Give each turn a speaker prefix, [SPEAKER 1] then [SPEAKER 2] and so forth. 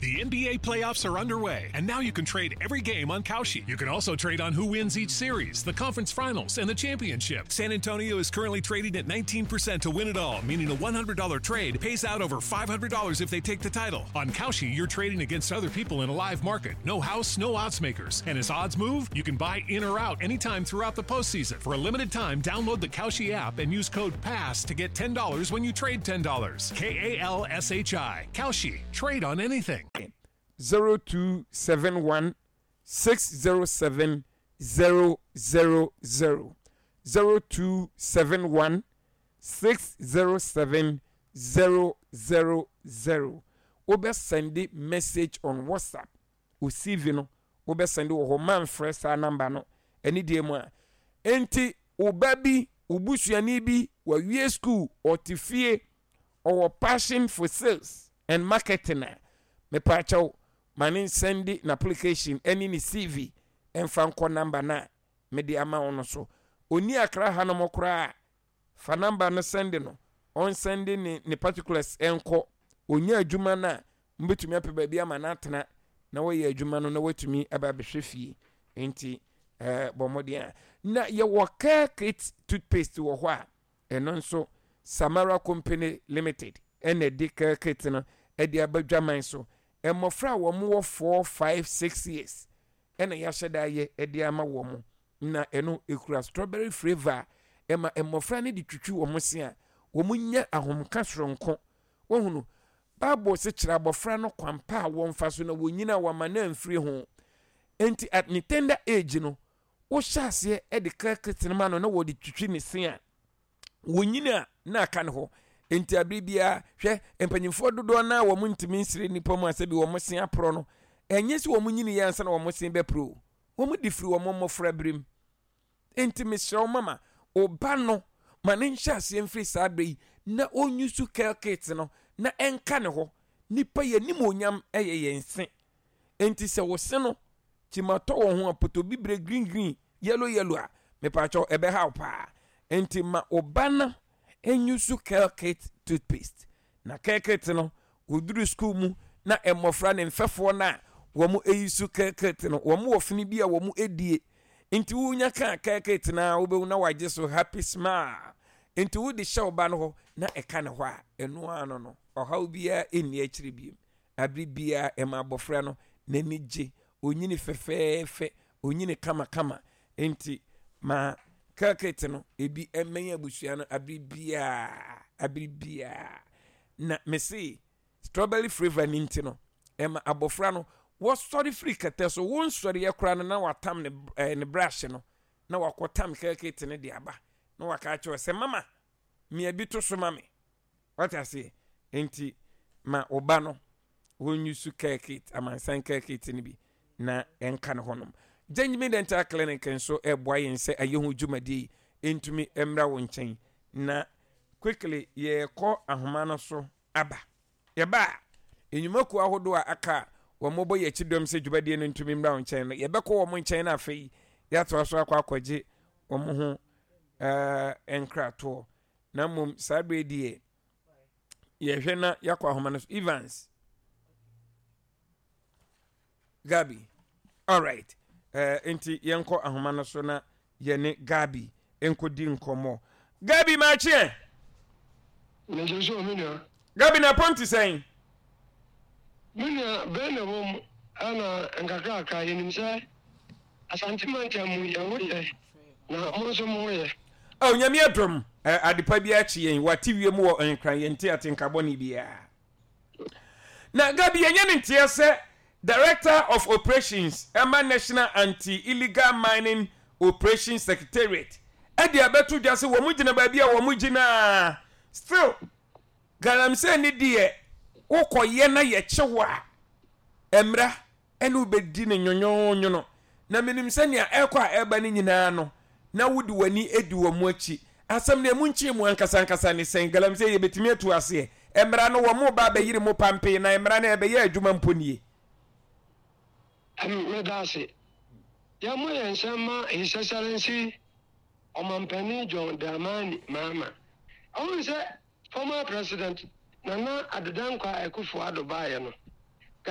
[SPEAKER 1] The NBA playoffs are underway, and now you can trade every game on Kalshi. You can also trade on who wins each series, the conference finals, and the championship. San Antonio is currently trading at 19% to win it all, meaning a $100 trade pays out over $500 if they take the title. On Kalshi, you're trading against other people in a live market. No house, no odds makers. And as odds move, you can buy in or out anytime throughout the postseason. For a limited time, download the Kalshi app and use code PASS to get $10 when you trade $10. K A L S H I. Kalshi. Trade on anything.
[SPEAKER 2] 0271 607 000 0271 607 000 Wobɛ sɛnde message on WhatsApp wo CV no wobɛ sɛnde wɔ hɔ manfrɛ saa number no ɛne deɛ mu a enti wo ba bi wo busuani bi wawie school ɔte fie ɔwɔ passion for sales and marketing a mepaakyɛw ma ne nsɛnde n'application ɛne ne CV ɛmfa nkɔ number no a mede ama wo no so ɔni akra hanom koraa Fa number no sɛnde no, ɔnsɛnde ne ne particulars nkɔ. Ɔnya adwuma no a, mobɛtumi apɛ baabi ama no atena na wayɛ adwuma no na watumi aba abɛhwɛ fie. Nti eh, bɔ mmɔden a. Na yɛwɔ Care Kit toothpaste wɔ hɔ a, ɛno nso Samara Company Limited ɛna ɛde Care Kit no ɛde aba dwaman so. Mmɔfra a wɔn wɔ 4, 5, 6 years ɛna yɛahyɛ da ayɛ ɛde ama wɔn. Na ɛno ekura strawberry flavour a ɛma mmɔfra no de twitwi wɔn se a, wɔnya ahomka soronko. Woahunu? Bible se kyerɛ abɔfra no kwan pa a wɔmfa so na wɔnyini a wɔama no amfiri ho. Enti at ne tender age no, wohyɛ aseɛ de crackers no ma no na wɔde twitwi ne se a, wɔnyini a na aka ne hɔ. Enti abere biara, hwɛ, mpanyinfoɔ dodoɔ no a wɔn ntumi nsere nnipa mu a sɛbi wɔn se aporɔ no, ɛnyɛ sɛ wɔn nyini yɛ ansa na wɔn se bɛporɔ o. Wɔde firi wɔn mmɔfraberem. Enti mesrɛ wo mama, wo ba no, ma no nhyɛ aseɛ mfiri saa berɛ yi na ɔnyusu care kit no na ɛnka ne hɔ. Nnipa yɛn animuonyam yɛ yɛn se. Enti sɛ wo se no kyimatɔ wɔ ho a, potobibire, green green, yellow yellow a, mepaakyɛw ɛbɛha wo paa. Enti ma wo ba no nyusu care kit toothpaste. Na kɛkɛt no, wɔduru sukuu mu na mmɔfra ne mfɛfoɔ no a wɔn yi so kɛkɛt no, wɔn wɔ fene bi a wɔn die. Nti wonya kaa kɛkɛt no a wobɛhu na wagye so happy smile. Nti wode hyɛ wo ba no hɔ na ɛka ne hɔ a, ɛno ara no no, ɔhaw biara nni akyire biem. Abere biara ɛma abɔfra no n'ani gye, onyini fɛfɛɛfɛ, onyini kamakama. Nti ma kɛkɛt no ebi mmɛn abusua no abere biara, abere biara. Na mese strawberry flavour no nti no, ɛma abɔfra no wɔsɔre firi kɛtɛ so, wonsɔreɛ koraa no na watam ne, eh, ne brush no, na wakɔtam kɛkɛt no de aba, na waka akyerɛ sɛ mama, mia bi to so ma me. Wate aseɛ? Enti ma wo ba no wɔnyusu care kit, amansan care kit no bi na ɛnka ne hɔnom. Gyangimi Dental Clinic nso ɛreboa yɛn sɛ ayɛ ho dwumadie yi ntumi mmra wo nkyɛn. Na quickly yɛrekɔ ahoma no so aba. Yɛba a, nnwumakuo ahodoɔ a aka a wɔbɔ yɛn akyi dɔm sɛ dwumadie no ntumi mmra wo nkyɛn no, yɛbɛkɔ wɔn nkyɛn na afei yɛatoa so akɔ akɔgye wɔn ho eh, nkratoɔ. Na mmom saa berɛ deɛ yɛhwɛ na yɛakɔ ahoma no so. Evans. Gabi. Alright. Uh, nti yɛnkɔ ahoma no so na yɛne Gabi nkɔdi nkɔmmɔ. Gabi maakyeɛ.
[SPEAKER 3] Megye so me nua.
[SPEAKER 2] Gabi na pɔn te sɛn?
[SPEAKER 3] Me nua bɛn na ɛwɔ mu ɛna nkakrakra yɛnim sɛ Asante mantam mu yɛn ho yɛ na mo nso mo ho yɛ.
[SPEAKER 2] Oh Nyame adom eh, adepa biara kye yɛn, wate wiem wɔ Nkran, yɛnte atenka bɔne biara. Na Gabi yɛnyɛ no nteɛ sɛ Director of Operations ɛma National Anti-Illegal Mining Operations Secretariat ɛde abɛto dwa sɛ wɔn gyina baabi a wɔn gyina still galamsey ne deɛ wokɔyɛ na yɛkye wo a mmra ɛne wo bɛdi no nwonwonwono, na menim sɛ nea ɛrekɔ a ɛreba no nyinaa no, na wode w'ani di wɔn akyi. Asɛm no, emu nkyerɛmu ankasa ankasa ne sɛn? Galamsey, yɛbɛtumi atu aseɛ? Mmara no, wɔreba abɛyere mo pampee, na mmara no ɛrebɛyɛ adwuma mpo nie.
[SPEAKER 3] M, Meda ase. Yɛmmɔ yɛn nsam mma His Excellency Ɔmampanin John Dramani Mahama. Wohu sɛ former President Nana Addo Dankwa Akufo-Addo baeɛ no.